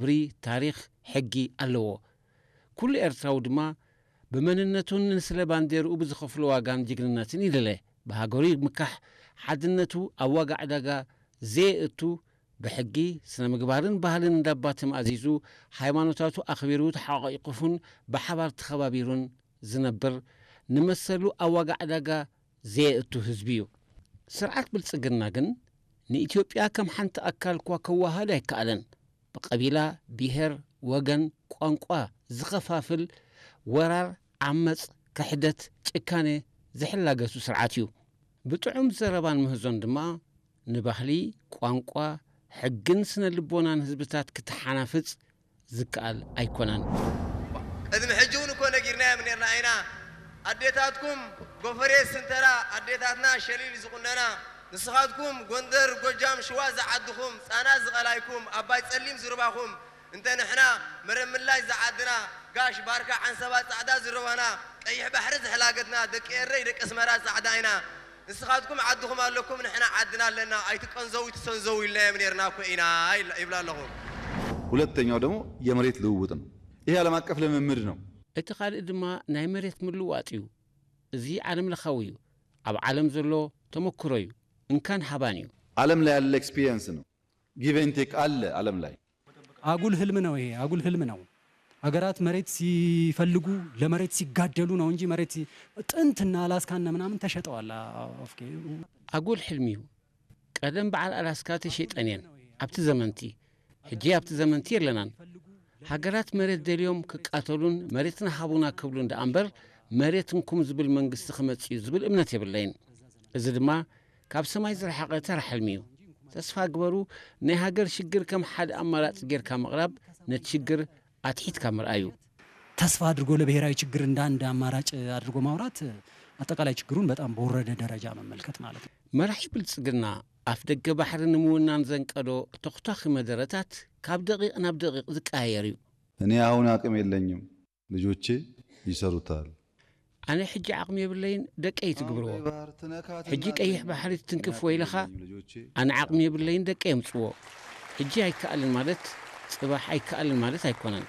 ክብሪ፣ ታሪኽ፣ ሕጊ ኣለዎ። ኩሉ ኤርትራዊ ድማ ብመንነቱን ንስለ ባንዴርኡ ብዝኸፍሎ ዋጋን ጅግንነትን ይድለ። ብሃገሩ ምካሕ፣ ሓድነቱ ኣብ ዋጋ ዕዳጋ ዘየእቱ፣ ብሕጊ፣ ስነ ምግባርን ባህልን እንዳባ ተማእዚዙ፣ ሃይማኖታቱ ኣኽቢሩ ተሓቋቂፉን ብሓባር ተኸባቢሩን ዝነብር፣ ንመሰሉ ኣብ ዋጋ ዕዳጋ ዘየእቱ ህዝቢ እዩ። ስርዓት ብልጽግና ግን ንኢትዮጵያ ከም ሓንቲ ኣካል እኳ ከዋሃድ ኣይከኣለን። ብቐቢላ፣ ብሄር፣ ወገን፣ ቋንቋ ዝኸፋፍል ወራር፣ ዓመጽ፣ ክሕደት፣ ጭካኔ ዝሕላገሱ ስርዓት እዩ። ብጥዑም ዘረባን ምህዞን ድማ ንባህሊ፣ ቋንቋ፣ ሕግን ስነ ልቦናን ህዝብታት ክተሓናፍጽ ዝከኣል ኣይኮነን። ቅድሚ ሕጂ እውን እኮ ነጊርናዮም ነርና ኢና። ኣዴታትኩም ጎፈሬ ስንተራ፣ ኣዴታትና ሸሊል ዝቑነና፣ ንስኻትኩም ጎንደር፣ ጎጃም፣ ሽዋ ዝዓድኹም፣ ጻና ዝቐላይኩም፣ ኣባይ ጸሊም ዝርባኹም፣ እንተ ንሕና መረምላሽ ዝዓድና፣ ጋሽ ባርካ ዓንሰባ ጻዕዳ ዝረባና፣ ቀይሕ ባሕሪ ዝሕላገትና፣ ደቂ ኤረይ ደቂ ኣስመራ ጻዕዳ ኢና። ንስኻትኩም ዓድኹም ኣለኩም፣ ንሕና ዓድና ኣለና፣ ኣይትቀንዘው ኣይትሰንዘው ኢልናዮም ነርና እኮ ኢና ይብላ ኣለኹ። ሁለተኛው ደግሞ የመሬት ልውውጥ ነው። ይሄ ዓለም አቀፍ ልምምድ ነው። እቲ ካልእ ድማ ናይ መሬት ምልዋጥ እዩ። እዚ ዓለም ለኻዊ እዩ። ኣብ ዓለም ዘሎ ተመክሮ እዩ። እንካን ሃባን እዩ። ዓለም ላይ ያለ ኤክስፒሪየንስ ነው። ጊቭ ኤንድ ቴክ አለ ዓለም ላይ። አጉል ህልም ነው ይሄ፣ አጉል ህልም ነው። ሀገራት መሬት ሲፈልጉ ለመሬት ሲጋደሉ ነው እንጂ መሬት ሲ- ጥንትና አላስካና ምናምን ተሸጠዋል። ኦኬ። ኣጉል ሕልሚ እዩ። ቀደም በዓል ኣላስካ ተሸይጠን እየን ኣብቲ ዘመንቲ። ሕጂ ኣብቲ ዘመንቲ የለናን። ሃገራት መሬት ደልዮም ክቃተሉን መሬትና ሃቡና ክብሉን ደኣ እምበር መሬት እንኩም ዝብል መንግስቲ ክመጽእ እዩ ዝብል እምነት የብለይን። እዚ ድማ ካብ ሰማይ ዝረሓቐ ተራ ሕልሚ እዩ። ተስፋ ግበሩ። ናይ ሃገር ሽግር ከም ሓደ ኣማራጺ ጌርካ ምቕራብ ነቲ ሽግር ኣትሒትካ ምርኣዩ። ተስፋ አድርጎ ለብሔራዊ ችግር እንደ አንድ አማራጭ አድርጎ ማውራት አጠቃላይ ችግሩን በጣም በወረደ ደረጃ መመልከት ማለት ነው። መራሒ ብልጽግና ኣፍ ደገ ባሕሪ ንምውናን ዘንቀዶ ተኹታኺ መደረታት ካብ ደቂቕ ናብ ደቂቕ ዝቀያየር እዩ። እኔ አሁን አቅም የለኝም፣ ልጆቼ ይሰሩታል። ኣነ ሕጂ ዓቕሚ የብለይን፣ ደቀይ ትግብርዎ። ሕጂ ቀይሕ ባሕሪ ትትንክፍዎ ኢለኻ፣ ኣነ ዓቕሚ የብለይን፣ ደቀይ የምጽዎ። ሕጂ ኣይከኣልን ማለት ጽባሕ ኣይከኣልን ማለት ኣይኮነን።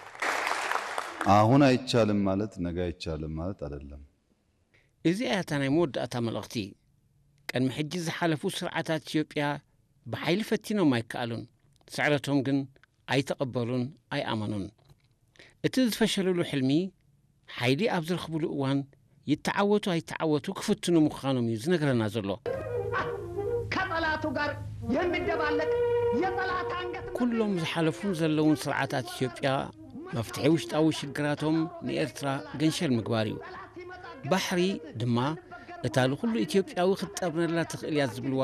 አሁን አይቻልም ማለት ነገ አይቻልም ማለት አይደለም። እዚኣ እያ እታ ናይ መወዳእታ መልእኽቲ። ቅድሚ ሕጂ ዝሓለፉ ስርዓታት ኢትዮጵያ ብሓይሊ ፈቲኖም ኣይከኣሉን። ስዕረቶም ግን ኣይተቐበሉን ኣይኣመኑን። እቲ ዝፈሸለሉ ሕልሚ ሓይሊ ኣብ ዝረኽብሉ እዋን ይተዓወቱ ኣይተዓወቱ ክፍትኑ ምዃኖም እዩ ዝነግረና ዘሎ። ከጠላቱ ጋር የሚደባለቅ የጠላት አንገት ኩሎም ዝሓለፉን ዘለውን ስርዓታት ኢትዮጵያ መፍትሒ ውሽጣዊ ሽግራቶም ንኤርትራ ገንሸል ምግባር እዩ። ባሕሪ ድማ እታ ንኹሉ ኢትዮጵያዊ ክትጠብነላ ትኽእል እያ ዝብልዋ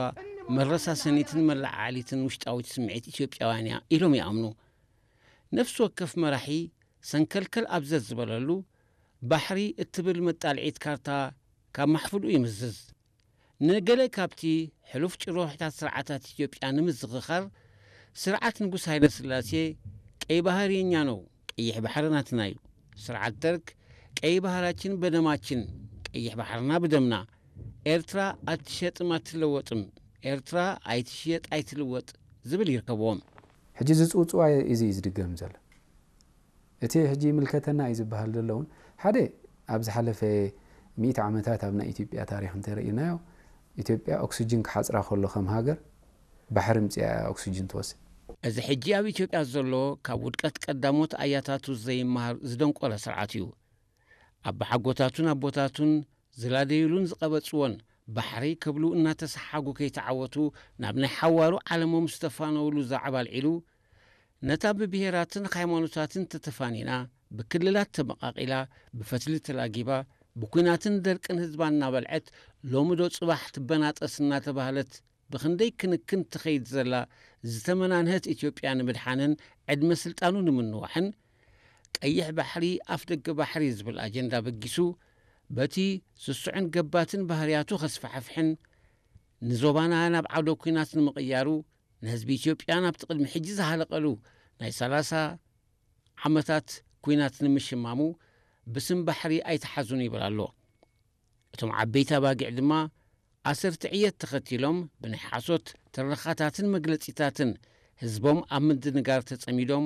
መረሳሰኒትን መለዓዓሊትን ውሽጣዊት ስምዒት ኢትዮጵያውያን እያ ኢሎም ይኣምኑ። ነፍሲ ወከፍ መራሒ ሰንከልከል ኣብ ዘዝበለሉ ባሕሪ እትብል መጣልዒት ካርታ ካብ ማሕፍልኡ ይምዝዝ። ንገለ ካብቲ ሕሉፍ ጭርሖታት ስርዓታት ኢትዮጵያ ንምዝኽኻር ስርዓት ንጉስ ሃይለስላሴ ቀይ ባህር የኛ ነው፣ ቀይሕ ባሕሪ ናትና እዩ። ስርዓት ደርግ ቀይ ባህራችን በደማችን፣ ቀይሕ ባሕርና ብደምና፣ ኤርትራ አትሸጥም አትለወጥም፣ ኤርትራ ኣይትሽየጥ ኣይትልወጥ ዝብል ይርከብዎም። ሕጂ ዝፅውፅዋ እዚ እዩ ዝድገም ዘሎ። እቲ ሕጂ ይምልከተና እዩ ዝበሃል ዘሎ እውን ሓደ ኣብ ዝሓለፈ ሚእቲ ዓመታት ኣብ ናይ ኢትዮጵያ ታሪክ እንተርኢናዮ ኢትዮጵያ ኦክስጅን ክሓፅራ ከሎ ከም ሃገር ባሕሪ ምፅያ እያ ኦክስጅን ትወስድ። እዚ ሕጂ ኣብ ኢትዮጵያ ዘሎ ካብ ውድቀት ቀዳሞት ኣያታቱ ዘይመሃር ዝደንቆረ ስርዓት እዩ። ኣባሓጎታቱን ኣቦታቱን ዝላደዩሉን ዝቐበጽዎን ባሕሪ ክብሉ እናተሰሓጉ ከይተዓወቱ ናብ ናይ ሓዋሩ ዓለሞም ዝተፋነውሉ ዛዕባ ኣልዒሉ ነታ ብብሄራትን ሃይማኖታትን ተተፋኒና ብክልላት ተመቓቒላ ብፈትሊ ተላጊባ ብኲናትን ደርቅን ህዝባ እናበልዐት ሎሚ ዶ ጽባሕ ትበናጠስ እናተባህለት ብኽንደይ ክንክን ትኸይድ ዘላ ዝተመናንሀት ኢትዮጵያ ንምድሓንን ዕድመ ስልጣኑ ንምንዋሕን ቀይሕ ባሕሪ ኣፍደገ ባሕሪ ዝብል ኣጀንዳ በጊሱ በቲ ስሱዕን ገባትን ባህርያቱ ከስፋሕፍሕን ንዞባና ናብ ዓውደ ኲናት ንምቕያሩ ንህዝቢ ኢትዮጵያ ናብቲ ቅድሚ ሕጂ ዝሃለቐሉ ናይ ሰላሳ ዓመታት ኲናት ንምሽማሙ ብስም ባሕሪ ኣይተሓዙን ይብል ኣሎ። እቶም ዓበይቲ ኣባጊዕ ድማ ኣሰርቲ ዕየት ተኸቲሎም ብናይ ሓሶት ትረኻታትን መግለጺታትን ህዝቦም ኣብ ምድንጋር ተጸሚዶም